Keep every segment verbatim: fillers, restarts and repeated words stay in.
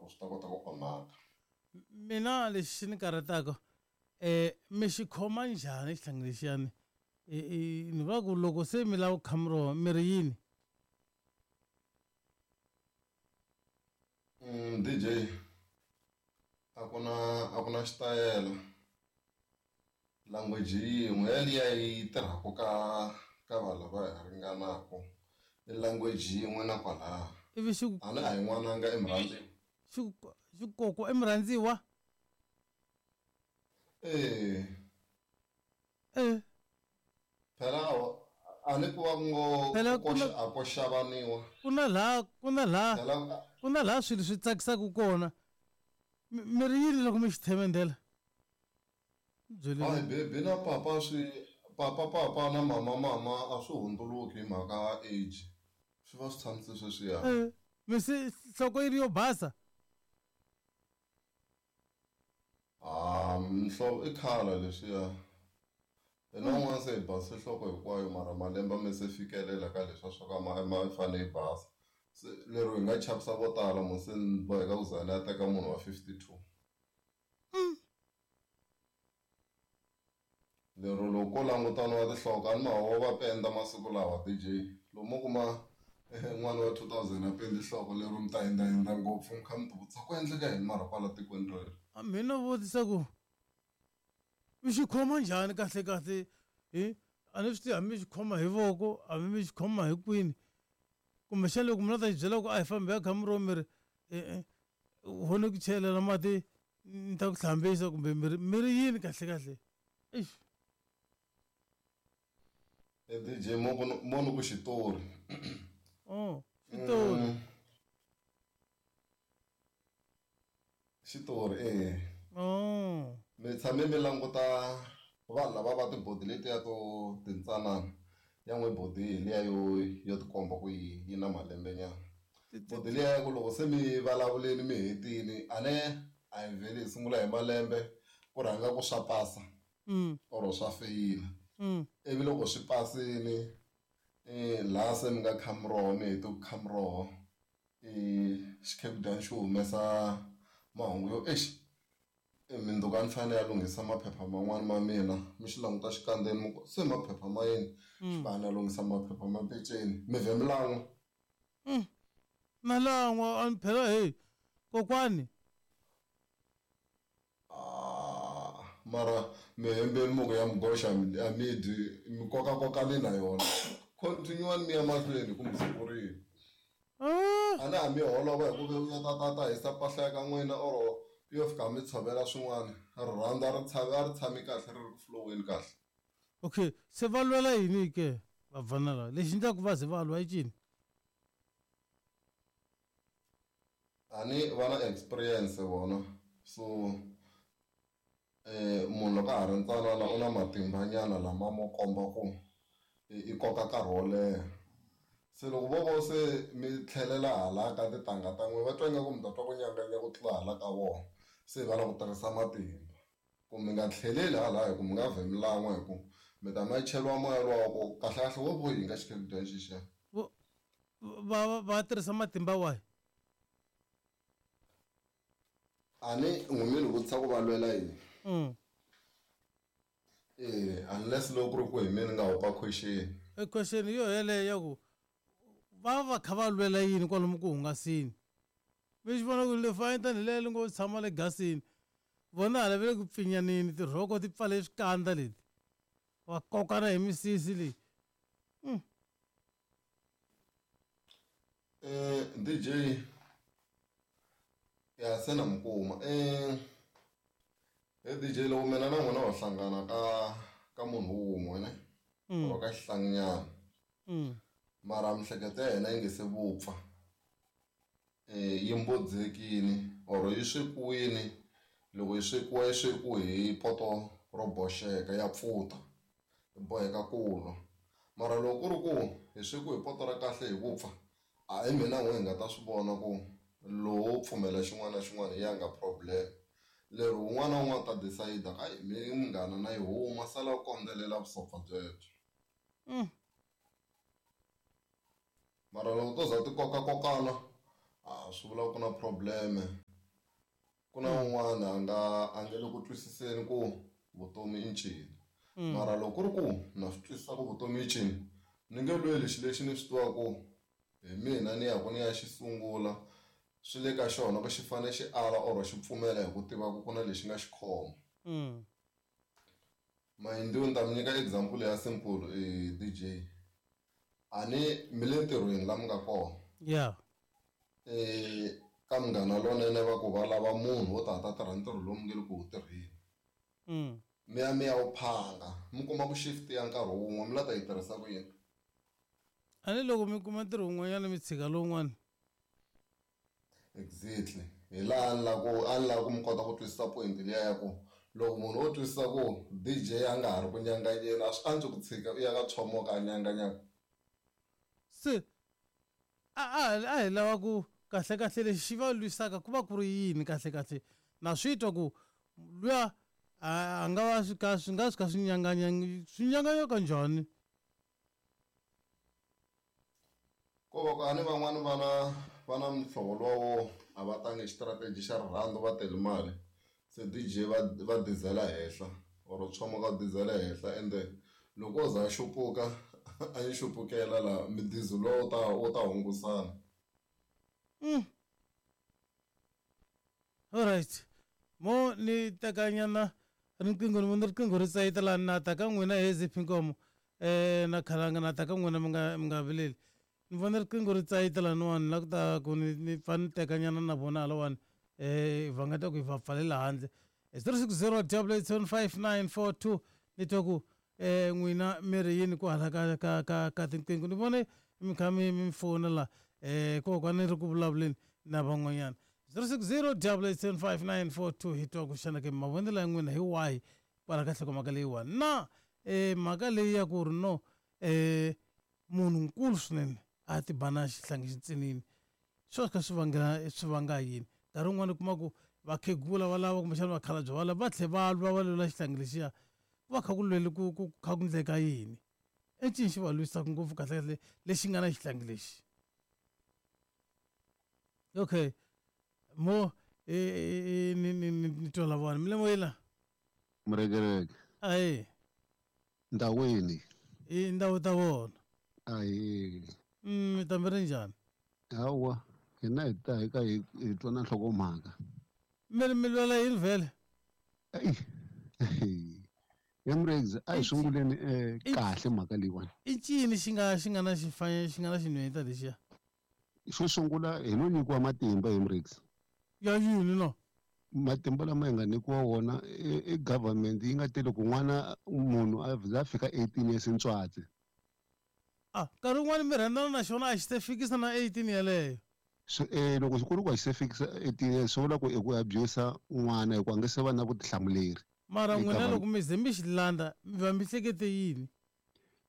ku swi ta kota ku onhaka. Mina lexi ni karhataka eh mi xi khoma njhani xihlangi lexiyani? Ni vula ku loko se mi lava ku kha miroho mi ri yini? Mm, D J a ku na a ku na xitayele, language yin'we yaliya yi tirhaka ka ka vanhu lava hi ringanaka i language yin'we na kwalaya. Ivi xi ku A ni a hi n'wananga i murhandziwa. Xi ku xi ku kokwa i murhandziwa? Eh. Eh. Phela a ni ku va ngo Phela ko ku na a ko xavaniwa. Ku na laha ku na laha Phela ku na laha swilo swi tsakisaka kona. Mi ri yini loko mi xi themendela? Byeli. Hayi baby na papa swi papa papa na mama mama a swi hundzuluki hi mhaka age. Swi va swi tshamise sweswiya. Eh, mi se nhloko yi ri yo basa? Ah, nhloko i khale leswiya. Hina un'wana se hi base nhloko hinkwayo mara malembe me se fikelela ka leswiya swa ka ma ma fanele yi basa. Se lero hi nga chavisa vo tala mo se ni boheka ku za ni ya teka munhu wa fifty-two. Lero loko ko langutaniwa tinhloko a ni ma va penda masiku lawa D J. Loko mo kuma n'wana wa two thousand a pendi nhloko lero mi ta hindzahindza ngopfu mi kha mi tivutisa ku endleka yini mara kwala tikweni rero. A mina vutisa ku mi xi khoma njhani kahle kahle hi a ni swi tivi hambi mi xi khoma hi voko hambi mi xi khoma hi kwini kumbexana loko mi la ta xi byela ku a hi fambi ya kha miroho mi ri e-e ho ni ku chelela mati ni ta ku hlambisa kumbe mi ri mi ri yini kahle kahle eish. E D J mo ku mo ni ku xitori. Oh, xitori. Xitori eh. Oh. Mi tshame mi languta vanhu lava va tibodi letiya to tintsanana ya n'we bodi hi liya yo yo tikomba ku yi yi na malembe nyana. Bodi liya ya ku loko se mi vulavuleni mi hetini a ne a hi vheli hi sungula hi malembe ku rhanga ku swa pasa Mm. or swa feyila. Mm. Ivi loko swi pasini eh laha se mi nga kha miroho mi hete ku kha miroho eh xikhekudani xi humesa mahungu yo exi mundzuku a ni fanele ya lunghisa maphepha man'wani ma mina mi xi languta xikandzeni mi ku se maphepha ma yini xi va ni ya lunghisa maphepha ma peceni mi vhe mi lan'wa. Mm. Na lan'wa a ni phela hey kokwani. Ah, mara mi hembeni mo ku ya mi goxa a mi dyi mi kokakokani na yona. Continue mi ya mahlweni kumbe siku rini. Ah. A na ha mi holova hi ku ve ya ta ta ta hisa mpahla ya ka n'wina or yo fika mi tshovela swin'wana rirhandzu a ri tshami a ri tshami kahle ri ri ku flow-eni kahle. Okay, se va lwela yini ke vabvana lava lexi endlaka va ze va lwa i cini? A ni va na experience vona so eh munhu loko a ha ri ntsanana u na matimba nyana lama mo komba ku i koka nkarhi wo leha. Se loko vo vo se mi tlhelela hala ka tintangha ta n'wina va twa ingaku mi ta twa ku nyanganya ku tlula hala ka vona se va lava ku tirhisa matimba ku mi nga tlheleli hala hi ku mi nga vhe mi lan'wa hi ku mi ta ma cheliwa moya luwa wa ku kahle kahle wo vo yi nga xikhekudani xexiya. Va va va tirhisa matimba wahi? A ni n'wi mi ni vutisa ku va lwela yini? Mm. Eh, unless loko ku ri ku hi mina ni nga hopa question. E question yo yeleyo ya ku va va kha va lwela yini kwalomu ku hungasini? Mi xi vona ku le fayita ni leyi ngo tshama le gasini. Vona hala va le ku pfinyaneni tirhoko ti pfale swikandza leti. Va kokana hi misisi leyi. Mm. Eh, D J ya se na mi kuma. Eh, eh D J loko mina na n'wina ho hlangana ka ka munhu wun'we ne? Mm. Or ka xihlanginyana. Mm. Mara miehleketo ya hina yi nge se vupfa. Eh, yi mbodzekile or yi swekiwile loko yi swekiwa yi swekiwe hi poto ro boxeka ya pfuta yi boheka ku nwa. Mara loko ku ri ku hi swekiwe hi poto ra kahle hi vupfa a hi mina n'we hi nga ta swi vona ku lowo pfumela xin'wana na xin'wana hi ya nga problem. Lero un'wana na un'wana ta decide ka hayi mi munghana na yi huma sala u kondzelela vusopfa byebyo. Mm. Mara loko to za ti kokakokana a swi vula ku na problem Ku na un'wana a nga a nge le ku twisiseni ku vutomi i ncini. Mara loko ku ri ku na swi twisisa ku vutomi i ncini, ni nge lweli xilo lexi ni swi tivaka ku hi mina ni ya ku ni ya xi sungula swi le ka xona ku xi fanele xi ala or xi pfumela hi ku tiva ku ku na lexi nga xi khoma. Mayindiwe ni ta mi nyika example ya simple D J. A ni mi le ntirhweni la mi nga kona. Yeah. Eh ka munghana lonene va ku va lava munhu wo ta ta tirha ntirho lowu mi nge le ku wu tirheni. Mm. Mi ya mi ya wu phanga, mi kuma ku shift ya nkarhi wun'we mi la ta yi tirhisa ku yini? A ni loko mi kuma ntirho wun'wanyana mi tshika lowun'wana. Exactly. Hi laha ni la ku a ni lava ku mi kota ku twisisa point liya ya ku loko munhu o twisisa ku D J a nga ha ri ku nyanganyeni a swi antswi ku tshika u ya ka tshomoka a nyanganyaka. Se a a a hi lava ku kahle kahle lexi xi va lwisaka ku va ku ri yini kahle kahle na swi twa ku luya a nga va swi ka swi nga swi ka swi nyanganya swi nyanganya kanjhani? Ko va ku a ni van'wani va na va na muhlovo lowo a va tangi xitirateji xa rirhandzu va tele mali se D J va va dizela henhla or tshomoka dizela henhla ende loko o za a xupuka a yi xupukela la midizo lowu ta wu ta hungusana. Mm. All right. Mo ni tekanyana riqingho ni vona riqingho ri tsayita laha na ta ka n'wina he Ziphi Nkomo eh na Khalanga na ta ka n'wina mi nga mi nga vileli. Ni vona riqingho ri tsayita laniwani la ku ta ku ni ni pfa ni tekanyana na vona halawani eh va nga ta ku hi va pfalela handle. zero six zero double eight seven five nine four two ni twa ku eh n'wina mi ri yini ku hala ka ka ka ka tinqingho ni vone mi kha mi mi fona la eh kokwana ri ku vulavuleni na van'wanyana zero six zero double eight seven five nine four two hi twa ku xana ke mavonelo ya n'wina hi wahi kwala ka nhlokomhaka leyiwani na eh mhaka leyi ya ku ri no eh munhu nkulu swinene a ti ba na xihlangi xintsinini swo ka swi vangela swi vanga yini nkarhi wun'wani u kuma ku vakhegula va lava kumbexana vakhalabye va lava va tlhe va lwa va lwela xihlangi lexiya ku va kha ku lwele ku ku kha ku ndleka yini i ncini xi va lwisaka ngopfu kahle kahle lexi nga na xihlangi lexi. Okay. Mo e ni ni ni twa la vona mi le moyeni la Murekereke. Ayi. Ndawini. I ndhawu ta vona. Ayi. Mm, mi ta mi ri njhani? Hawa, hina hi ta hi ka hi hi twa na nhlokomhaka. Mi mi lwela yini vhele? Ayi. Emrex a hi sunguleni eh kahle mhaka leyiwani. I ncini xi nga xi nga na xifanya xi nga na xinhwanyeta lexiya? Xo sungula hi no nyikiwa matimba Emrex. Ya yini no? Matimba lama hi nga nyikiwa wona i government yi nga tele ku n'wana munhu a za fika eighteen years ntswatsi. Ah, nkarhi wun'wani mi rhandzana na xona a xi se fikisa na eighteen yeleyo. So eh loko xi ku ri ku a xi se fikisa eighteen years swi vula ku i ku abuse n'wana hikuva a nge se va na vutihlamuleri. Mara n'wina loko mi ze mi xi landza mi va mi hlekete yini?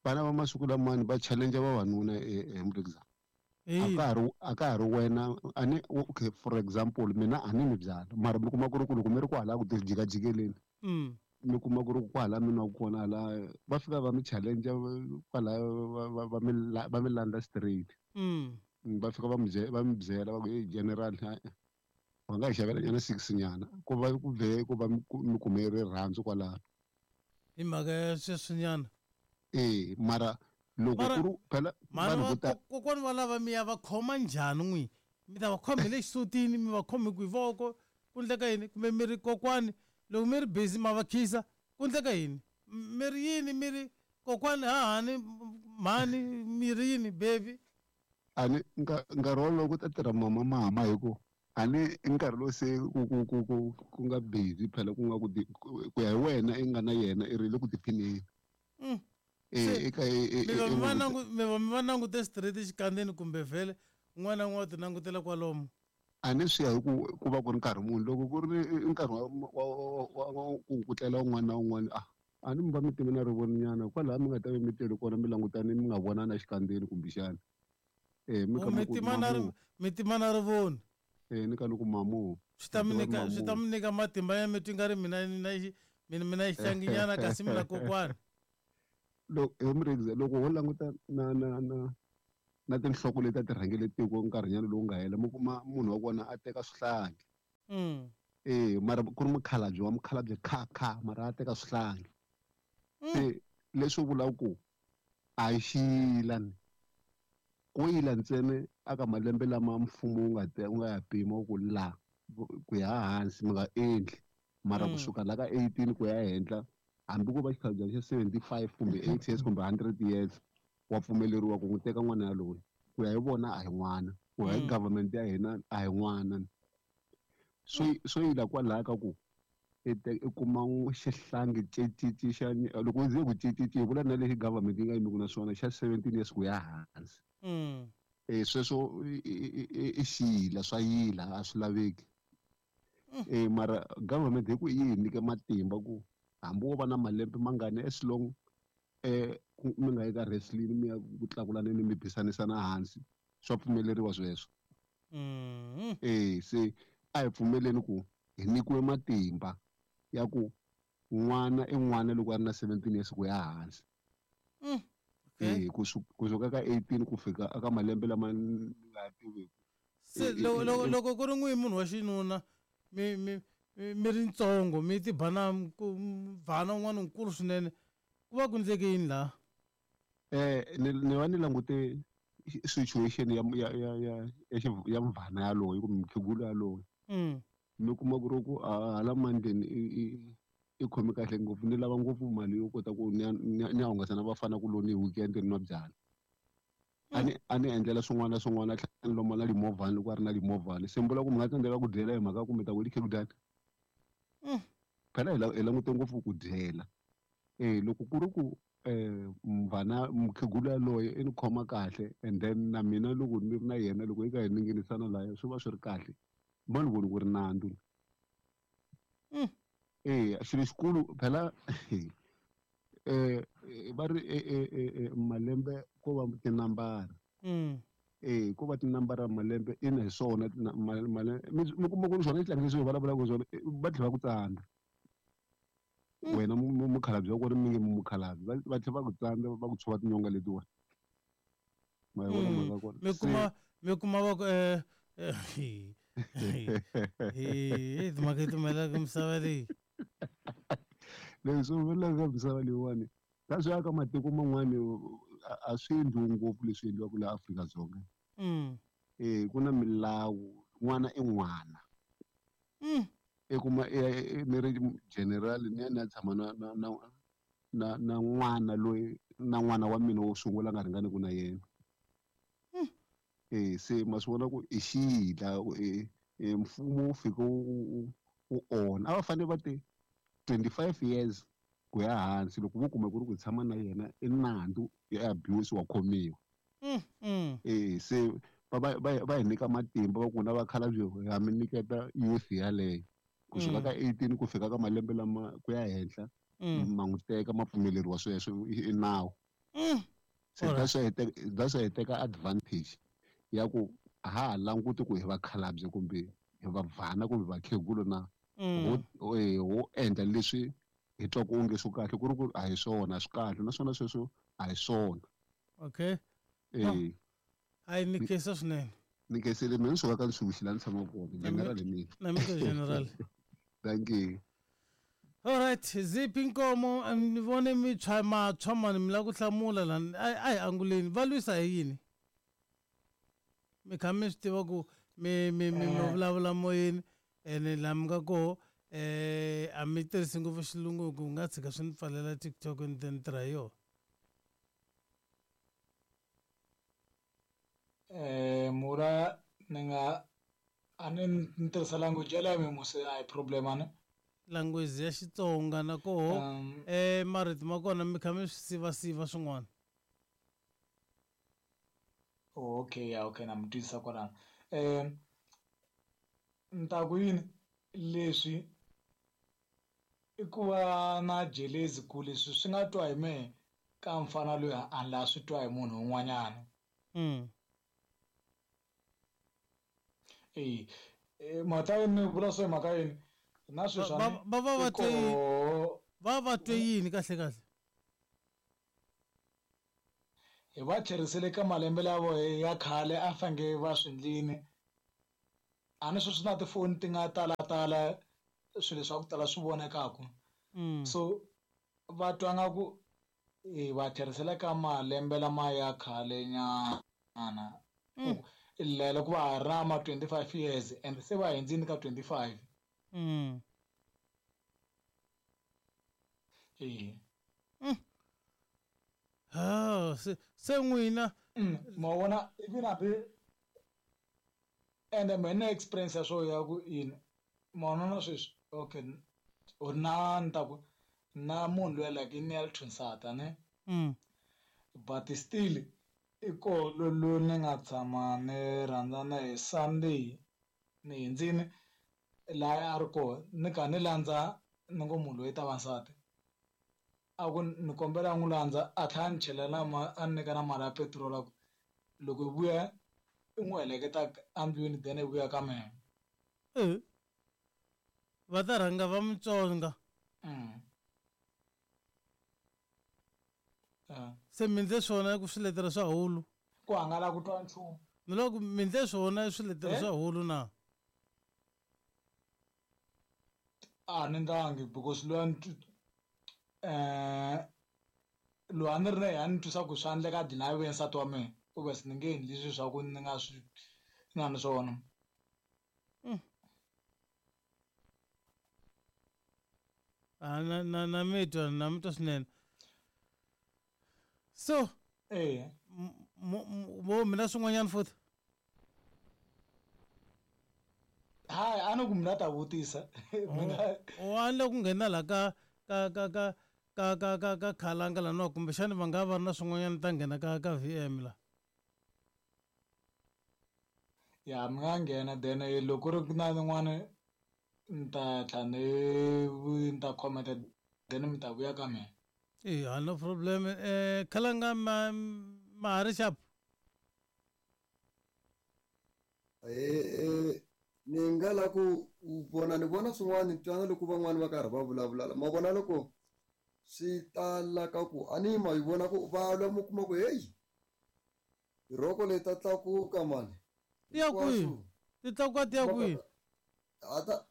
Vana va masiku lamani va challenge vavanuna Emrex. A ka ha ri a ka ha ri wena a ni okay for example mina a ni mi byala mara mi kuma ku ri ku loko mi ri kwala ku jikajikeleni mm. mi kuma ku ri kwala mi nwaku kona hala va fika va mi challenge kwala va va mi va mi landza straight mm. va fika va mi va mi byela va ku hey general va nga hi xavela nyana six nyana ku va ku vhe ku va mi kume rirhandzu kwalano hi mhaka ya sweswinyana eh mara loko ku ri phela vanhu vo tala kokwani va lava mi ya va khoma njhani n'wi mi ta va khoma hi le xisutini mi va khome ku hi voko ku ndleka yini kumbe mi ri kokwani loko mi ri busy ma va khisa ku ndleka yini mi ri yini mi ri kokwani hahani mhani mi ri yini baby a ni nkarhi wolowo ku ta tirha mama mama hi ku a ni i nkarhi lowu se ku ku ku ku ku nga busy phela ku nga ku ku ya hi wena i nga na yena i ri le ku tiphineni mm. Eh eka mi va mi va nangu mi va mi va langute straight xikandzeni kumbe vhele un'wana na un'wana u ti langutela kwalomu a ni swi ya hi ku ku va ku ri nkarhi muni loko ku ri nkarhi wa wa wa ku ku tlela un'wana na un'wana a a ni mi va mi time na rivoninyana kwalaha mi nga ta va mi tele kona mi langutane mi nga vonana xikandzeni kumbexana eh mi ka mi tima na mi tima na rivoni eh ni ka ni ku mamu swi ta mi nyika swi ta mi nyika matimba ya mi twi nga ri mina na mina mina xihlanginyana kasi mina kokwani loko Emrex loko ho languta na na na na tinhloko leti a ti rhangele tiko nkarhinyana lowu nga hela mi kuma munhu wa kona a teka swihlangi mm. Eh mara ku ri mukhalabye wa mukhalabye kha kha mara a teka swihlangi. Se leswi vulaka ku a hi xiyila ni ko yila ntsena aka malembe lama mfumo wu nga wu nga ya pima ku la ku ya hansi mi nga endli mara kusuka la ka eighteen ku ya henhla hambi ku va xikhalabye xa seventy-five kumbe eighty years kumbe hundred years wa pfumeleriwa ku n'wi teka n'wana yaloye ku ya hi vona a hi n'wana ku ya hi government ya hina a hi n'wana so so yila kwalaya ka ku i kuma xihlangi cecici xa loko ndzi ku cecici hi vula na lexi government yi nga yimiku na swona xa seventeen years ku ya hansi eh sweswo i xiyila swa yila a swi laveki eh mara government hi ku yi hi nyike matimba ku hambi wo va na malembe mangani as long eh mi nga yi ka wrestling mi ya ku tlakulaneni mi bisanisana hansi swa pfumeleriwa sweswo eh se a hi pfumeleni ku hi nyikiwe matimba ya ku n'wana i n'wana loko a ri na seventeen years ku ya hansi eh kusuka ka eighteen ku fika aka malembe lama ni nga tiviki se loko loko loko ku ri n'wi munhu wa xinuna mi mi mi ri ntsongo mi ti bana bana un'wana nkulu swinene ku va ku ndleke yini laha eh ni ni va ni langute situation ya ya ya ya ya mvana yaloye kumbe mukhegulu yaloye mi kuma ku ri ku hala mandleni i khomi kahle ngopfu ni lava ngopfu mali yo kota ku ni ya hungasa na vafana ku loni hi weekend ni nwa byala a ni a ni endlela swin'wana na swin'wana a tlhela ni lomba na limovhani loko a ri na limovhani se mbula ku mi nga tsandzeka ku dyela hi mhaka ku mi ta ku likhegudani phela hi langute ngopfu ku dyela eh loko ku ri ku eh mvana mukhegulu yaloye i ni khoma kahle and then na mina loko ni ri na yena loko hi ka hi ninginisana laya swi va swi ri kahle ma ni voni ku ri nandzu eh xilo xikulu phela eh va ri malembe ko va tinambara eh ko va tinambara malembe ina hi swona mi kuma ku ri swona xihlangi leswi hi vulavulaka swona va tlhela va ku tsandza wena mukhalabye wa kona mi nge mukhalabye va tlhela va ku tsandza va ku tshova tinyonga letiwani ma yi vona mhaka kona mi kuma mi kuma va ku eh eh timhaka ti humelelaka misava leyi leswi humelelaka misava leyiwani ka swi ya ka matiko man'wani a swi endliwi ngopfu leswi endliwaka laha Afrika-Dzonga eh ku na milawu n'wana i n'wana i kuma ni ri general ni ya ni ya tshama na na na na na n'wana loyi na n'wana wa mina wo sungula nga ringaniku na yena eh se ma swi vona ku i xiyila mfumo wu fike wu wu onha a va fanele va te twenty-five years ku ya hansi loko vo kuma ku ri ku tshama na yena i nandzu ya abuse wa khomiwa eh se va va va hi nyika matimba va ku na vakhalabye ha mi nyiketa youth yaleyo kusuka ka eighteen ku fika ka malembe lama ku ya henhla ma n'wi teka ma pfumeleriwa sweswo i nawu se that's why that's why hi teka advantage ya ku a ha ha languti ku hi vakhalabye kumbe hi vabvana kumbe vakhegulu na ho ho endla leswi hi twa ku onge swo kahle ku ri ku a hi swona swi kahle naswona sweswo a hi swona okay eh hayi ni khensa swinene ni khensile mina ni suka ka nsuku la ni tshamaka kona general mina na mina general thank you. All right, Ziphi Nkomo ni vone mi tshwa matshwa mani mi lava ku hlamula lani a hi anguleni va lwisa hi yini mi kha mi swi tiva ku mi mi mi mi vulavula moyeni ene laha mi nga koho eh a mi tirhisi ngopfu xilungu ku nga tshika swi ni pfalela TikTok ni ta ni tirha hi yona eh mura ni nga a ni ni tirhisa language ya leyo musi a hi problem ani language ya Xitsonga na koho eh marito ma kona mi kha mi swi sivasiva swin'wana okay ya okay na mi twisisa kwalano eh ni ta ku yini leswi i ku va na jelezi ku leswi swi nga twa hi mehe ka mfana loyi a ni la swi twa hi munhu un'wanyana mm eh mhaka yini vula swo hi mhaka yini na sweswi va va va va twe va va twe yini kahle kahle hi va tlherisele ka malembe lavo ya khale a fange va swi ndlini a ni sweswi na tifoni ti nga talatala swilo swa ku tala swi vonekaku. Mm. So va twa nga ku hi va tlherisela ka malembe lama ya khale nyana. Mm. Loko va ha ri na ma twenty-five years and se va hundzini ka twenty-five. Mm. Eh. Mm. Ah, se se n'wina Mm, ma vona even hambi ende mina na experience ya swo ya ku yini ma vona na sweswi okay u na ni ta ku na munhu loyi like i ni ya thunsata ne Mm. but still i koho loyi ni nga tshama ni rhandzana hi Sunday ni hundzini laha a ri kona ni kha ni landza ni ngo munhu loyi ta va nsati a ku ni kombela n'wi landza a tlhela a ni chelela ma a ni nyika na mali ya petiroli a ku loko hi vuya i n'wi heleketa endlwini then i vuya ka mina. Eh. Va ta rhanga va mutsonga. Mm. Ah. Se mi ndle swona ku swiletelo swa hulu. Ku hangala ku twa nchumu. Ni loko mi ndle swona swiletelo Eh? swa hulu na. A ni ndlangi because loyi a ni twi- eh loyi a ni ri na yena a ni twisa ku swa endleka a dlina a ve nsati wa mina obviously ni nge endli swilo swa ku ni nga swi nga ni swona. Mm. Ah, na na na mi twa na mi twa swinene. So Eh. mo mina swin'wanyana futhi. Hayi a ni ku mina ta vutisa. Mina O a ni le ku nghena la ka ka ka ka ka ka ka ka khalanga la no kumbexani va nga va ri na swin'wanyana ta nghena ka ka V M la. Ya mi nga nghena then loko ku ri na yin'wana ni ta tlhela ni ni ta comment then mi ta vuya ka mina. Eh, no problem. Eh, khalanga ma ma ha ri xap. Eh, eh, ni nga la ku vona ni vona swin'wana ni twana loko van'wani va karhi va vulavula ma vona loko swi tala ka ku a ni ma yi vona ku va lwa mi kuma ku heyi tirhoko leti ta tlakuka mani Ti ya kwihi? Ti tlakuka ti ya kwihi? A ta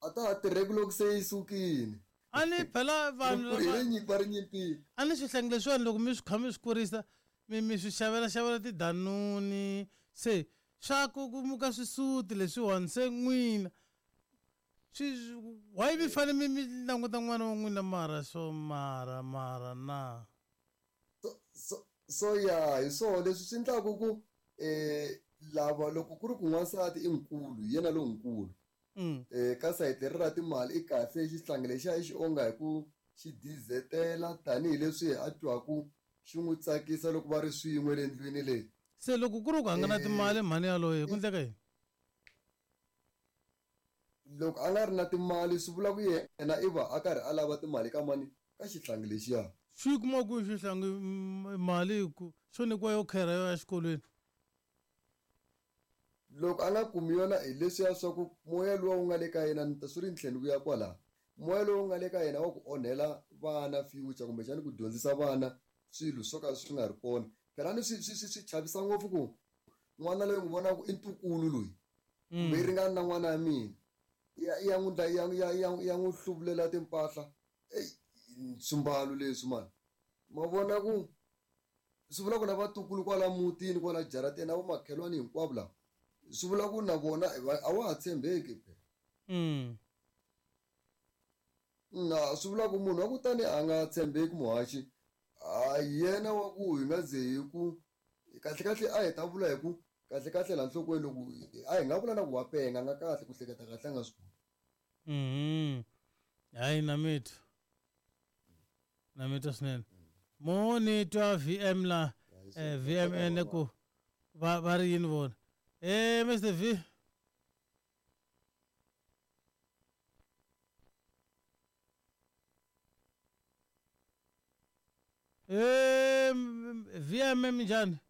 a ta ha tirheki loko se yi sukile. A ni phela vanhu Hi le nyimpi va ri nyimpini. A ni swihlangi leswiwani loko mi swi kha mi swi kurisa mi mi swi xavela xavela tidanuni se swa kukumuka swisuti leswiwani se n'wina swi why mi fanele mi mi languta n'wana wa n'wina mara swo mara mara na so so so ya hi swona leswi swi endlaku ku eh lava loko ku ri ku n'wansati i nkulu hi yena lonkulu Mm. eh ka sayiti leri ra timali i kahle xihlangi lexiya i xi onga hi ku xi dizetela tanihileswi a twaku xi n'wi tsakisa loko va ri swin'we le ndlwini leyi. Se loko ku ri ku a nga na timali mhani yaloye ku endleka yini? Loko a nga ri na timali swi vula ku yena i va a karhi a lava timali ka mani ka xihlangi lexiya. Xi yi kuma kwihi xihlangi mali ku xo nyikiwa yo khera yo ya xikolweni? Loko a nga kumi yona hi leswiya swa ku moya luwa wu nga le ka yena ni ta swi ri ni tlhela ni vuya kwalaho moya lowu nga le ka yena wa ku onhela vana future kumbexani ku dyondzisa vana swilo swo ka swi nga ri kona phela ni swi swi swi swi chavisa ngopfu ku n'wana loyi n'wi vonaka i ntukulu loyi kumbe yi ringana na n'wana ya mina ya ya n'wi ya ya ya ya n'wi hluvulela timpahla eyi swimbalo leswi mani ma vona ku swi vula ku na vatukulu kwala mutini kwala jarateni na vomakhelwani hinkwavo lava swi vula ku na vona a wa ha tshembeki phela. Mm. Na swi vula ku munhu wa ku tani a nga tshembeki muhaxi a yena wa ku hi nga ze hi ku kahle kahle a hi ta vula hi ku kahle kahle laha nhlokweni loko a hi nga vula na ku wa penga nga kahle ku hleketa kahle a nga swi koti. Mhm. Hayi na mi twa. Na mi twa swinene. Mo ni twa V M la eh, V M N ku va va ri yini vona. Eh Mister V. Eh V M minjhani?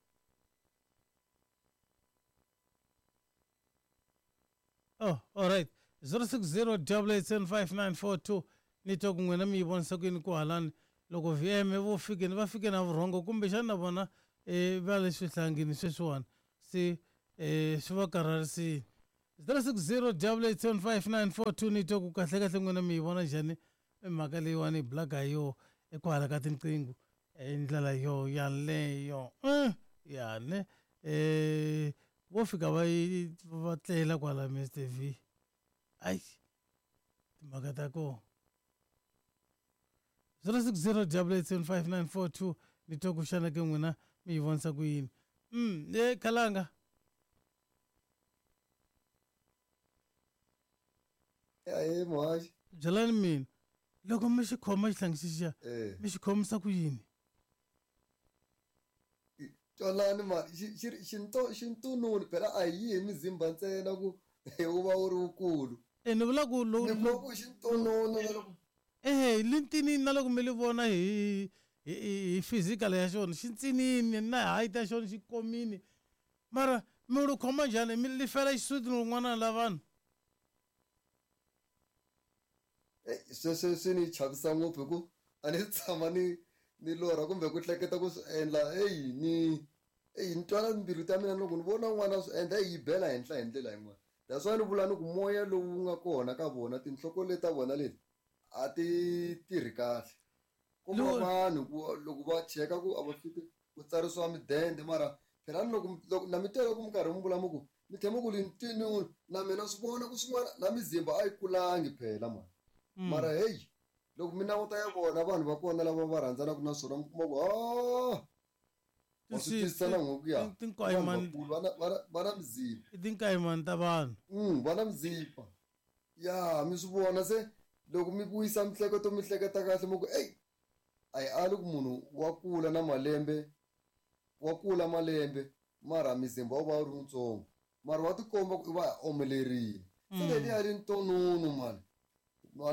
Oh, all right. zero six zero double eight seven five nine four two. Ni twa ku n'wina mi yi vonisa ku yini ku halani loko V M vo fikeni va fike na vurhongo kumbexana na vona eh va le swihlangini sweswiwani se eh swi va karharisile. zero six zero double eight seven five nine four two ni twa ku kahle kahle n'wina mi yi vona njhani mhaka leyiwani hi bulaka hi yo ekwala ka tinqingho hi ndlela yo yaleyo ya ne eh vo fika va yi va tlela kwala Mister V ayi timhaka ta kona zero six zero double eight seven five nine four two ni twa ku xana ke n'wina mi yi vonisa ku yini mm e khalanga ahe muhaxi byelani mina loko mi xi khoma xihlangi xixiya eh mi xi khomisa ku yini twalani mani xintununi phela a hi yi hi mizimba ntsena ku wu va wu ri wukulu e ni vula ku ni vula ku xintununu na loko ehe lintini na loko mi li vona hi hi hi physical ya xona xi ntsinini na height ya xona xi komini mara mi lu khoma njhani mi li fela xisuti rin'wana la vanhu sweswo swi ni chavisa ngopfu hi ku a ni tshama ni ni lorha kumbe ku hleketa ku swi endla eyi ni eyi ni twana mbilu ta mina loko ni vona n'wana swi endla eyi yi bela henhla hi ndlela yin'wana that's why ni vula ni ku moya lowu wu nga kona ka vona tinhloko leti ta vona leti a ti tirhi kahle ku va vanhu ku loko va cheka ku a va fiki ku tsarisiwa midende mara phela ni loko loko na mi twa loko mi karhi mi vula mi ku mi tlhela mi ku lintini na mina swi vona ku swin'wana na mizimba a yi kulangi phela mani mara heyi loko mi languta ya vona vanhu va kona lava va rhandzanaka na swona mi kuma ku a wa swi twisisa na n'we ku ya tinkayimani vakulu va na va na va na mizimba i tinkayimani ta vanhu mm va na mizimba ya mi swi vona se loko mi vuyisa mihleketo mi hleketa kahle mi ku eyi a hi ali ku munhu wa kula na malembe wa kula malembe mara mizimba wu va wu ri wutsongo mara wa tikomba ku i va omelerile se leliya ri ntonunu mani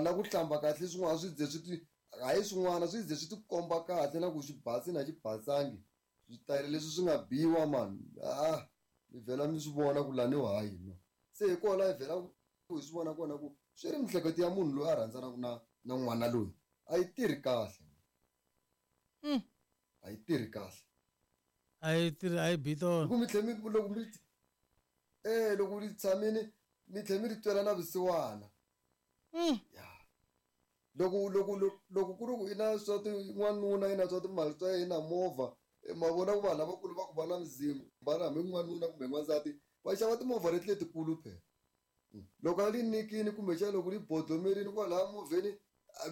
na ku hlamba kahle swin'wana swi ze swi ti hayi swin'wana swi ze swi tikomba kahle na ku xi basi na xi basangi switayele leswi swi nga biwa mani a mi vhela mi swi vona ku laniwa hayi no se hi kona hi vhela ku hi swi vona kona ku swi ri mihleketo ya munhu loyi a rhandzanaka na na n'wana loyi a yi tirhi kahle a yi tirhi kahle a yi tirhi a yi bi tona ku mi tlhe mi loko mi eh loko mi tshamini mi tlhe mi ri twela na vusiwana ya loko loko loko ku ri ku i na swa ti n'wanuna i na swa timali swa yena movha ma vona ku vanhu lavakulu va ku va na mizimba na hambi n'wanuna kumbe n'wansati va xava timovha leti letikulu phela loko a li nyikini kumbexana loko li bodlomerini kwalaya movheni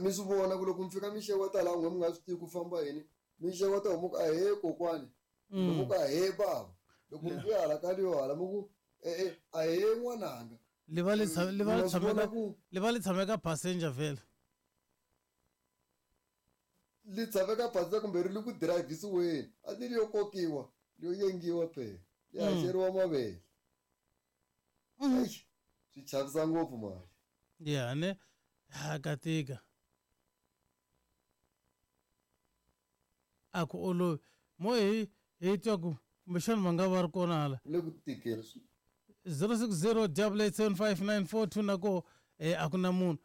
mi swi vona ku loko mi fika mi xeweta laha n'we mi nga swi tivi ku famba yini mi xeweta homu ku ahee kokwani loko ku ahee bava loko mi vuya hala ka leyo hala mi ku e-e ahee n'wananga li va li li va li tshame ka li va li tshame ka passenger vhele li tshame ka passenger kumbe ri le ku dirayivhisiweni a ni li yo kokiwa li yo yengiwa phela li haxeriwa mavele swi chavisa ngopfu mali ya ne ha ka tika a ku olovi mo hi hi twa ku kumbexana va nga va ri kona hala le ku tikela zero six zero double eight seven five nine four two na ko eh a ku na munhu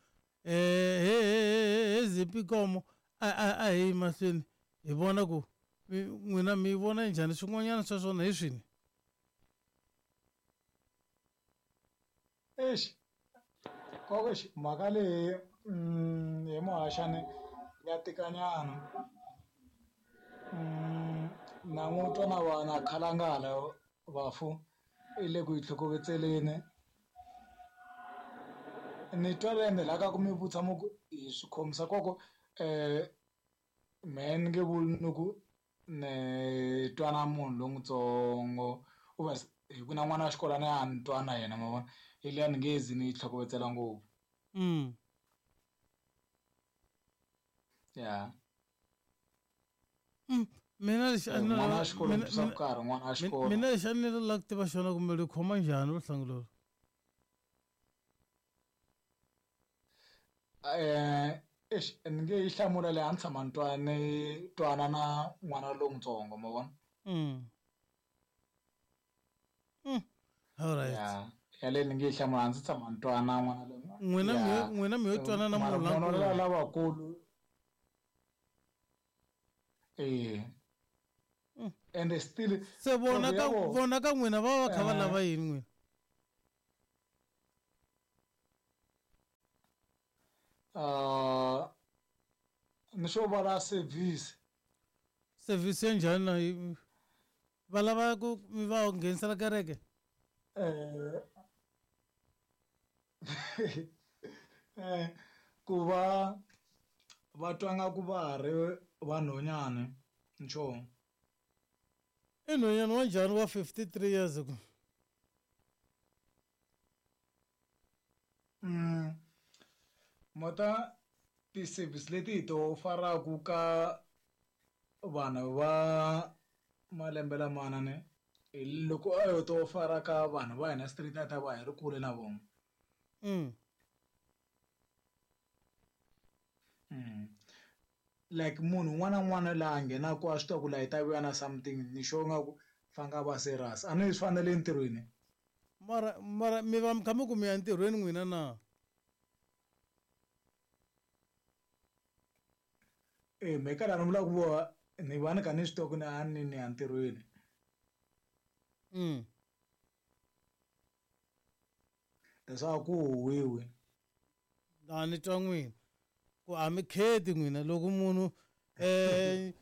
eh he he he zipi komo a a a hi mahlweni hi vona ku n'wina mi vona njhani swin'wanyana swa swona hi swini Eish koko mhaka leyi hi muhaxani ya tikanyana na n'wi twa na vana khalangala vafu i le ku yi tlhokovetseleni ni twa ende la ka ku mi vutisa mu ku hi swi khomisa koko mehe ni nge vuli ni ku ni twa na munhu lon'wutsongo u va hi ku na n'wana wa xikolo a ni a ni twa na yena ma vona hi liya ni nge zi ni yi tlhokovetsela ngopfu mm ya mm mina lexi a ni n'wana wa xikolo ni twisa ku karhi n'wana wa xikolo mina lexi a ni la ku tiva xona kumbe li khoma njhani vuhlangi lolu eh eish ni nge yi hlamula leyi a ni tshama ni twa ni twana na n'wana lowutsongo ma vona mm mm all right ya yaleyo ni nge yi hlamula a ndzi tshama ni twana na n'wana loyi n'wina mi n'wina mi yo twana na munhu munhu la lavakulu eh ende still se vona ka vona ka n'wina va va kha va lava yini n'wina Uh ni xo vala service. Service ya njhani na yi- va lava ku mi va nghenisela kereke? Eh eh ku va va twa nga ku va ha ri vanhwanyana nchumu. I nhwanyana wa njhani wa fifty-three years ago? Mm. Mota ti-service leti hi to faraku ka vanhu va malembe lamana ne hi loko a yo to fara ka vanhu va hina street a ta va hi ri kule na vona. Mm. Mm. Like munhu un'wana na un'wana laha nghenaku a swi tiva ku laha hi ta vuya na something ni sure nga ku fanga va serious a ni swi fanele entirhweni. Mara mara mi va mi kha mi ku mi ya entirhweni n'wina na? Eh me ka laha ni vulaka ku va ni va ni kha ni swi tiva ku ni a ni ni ya ntirhweni. Mm. Leswaku ku huwiwi. A ni twa n'wina ku a mi kheti n'wina loko munhu eh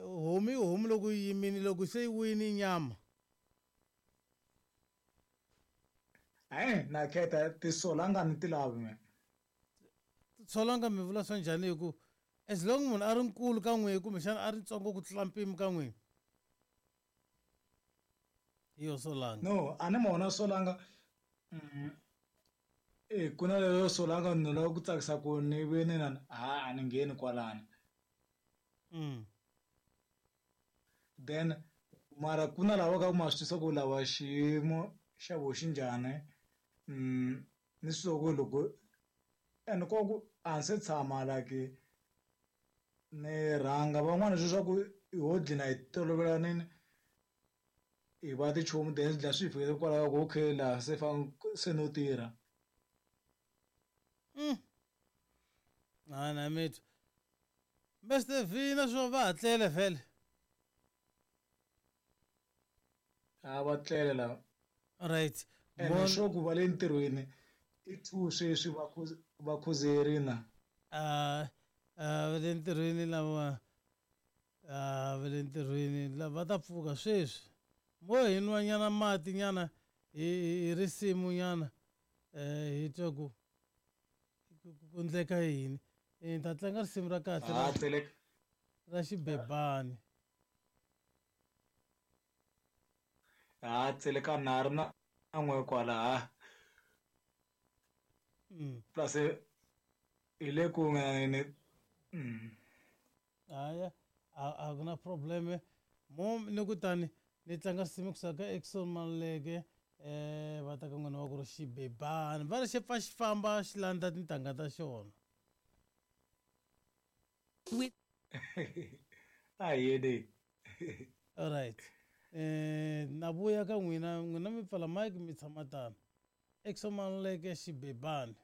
homu i homu loko yi yimile loko se yi wini nyama. Eh na kheta tisolanga ni ti lavi me. Tisolanga mi vula swa njhani hi ku as long munhu a ri nkulu ka n'wina kumbexana a ri ntsongo ku tlula mpimo ka n'wina? Hi yo solanga. No, a ni mona solanga. Mm. Eh ku na leyo solanga ni lava ku tsakisa ku ni ve ni na ha a ni ngheni kwalano. Mm. Then mara ku na lava ka ma swi twisa ku lava xiyimo xa vo xi njhani. Mm ni swi ku loko and ko ku a ni se tshama like ni rhanga van'wana sweswi swa ku ho dlina hi tolovelanini hi va tichomi then swi dlina swi hi fikele kwalaho ku okay laha se se no tirha. Mm. A na mi twa. Mister V na swo va hatlele vhele. A va tlele lava. Right. Ene swo ku va le ntirhweni i two sweswi va va khuzerini. Ah va le ntirhweni lava ah va le ntirhweni lava ta pfuka sweswi. Mo hi nwa nyana mati nyana hi hi risimu nyana eh hi twa ku ku endleka yini. Ni ta tlanga risimu ra kahle ra ra xibebani. Ha tseleka na ri na n'we kwala ha. Mm. Plus hi le ku nga ni mm. Haya a ku na problem. Mo ni ku tani ni tlanga risimu kusuka ka Exxon Maluleke eh va ta ka n'wina wa ku ri xibebani va ri xi pfa xi famba xi landza tintangha ta xona. A yini. All right. Eh na vuya ka n'wina n'wina mi pfala mic mi tshama tano. Exxon Maluleke xibebani.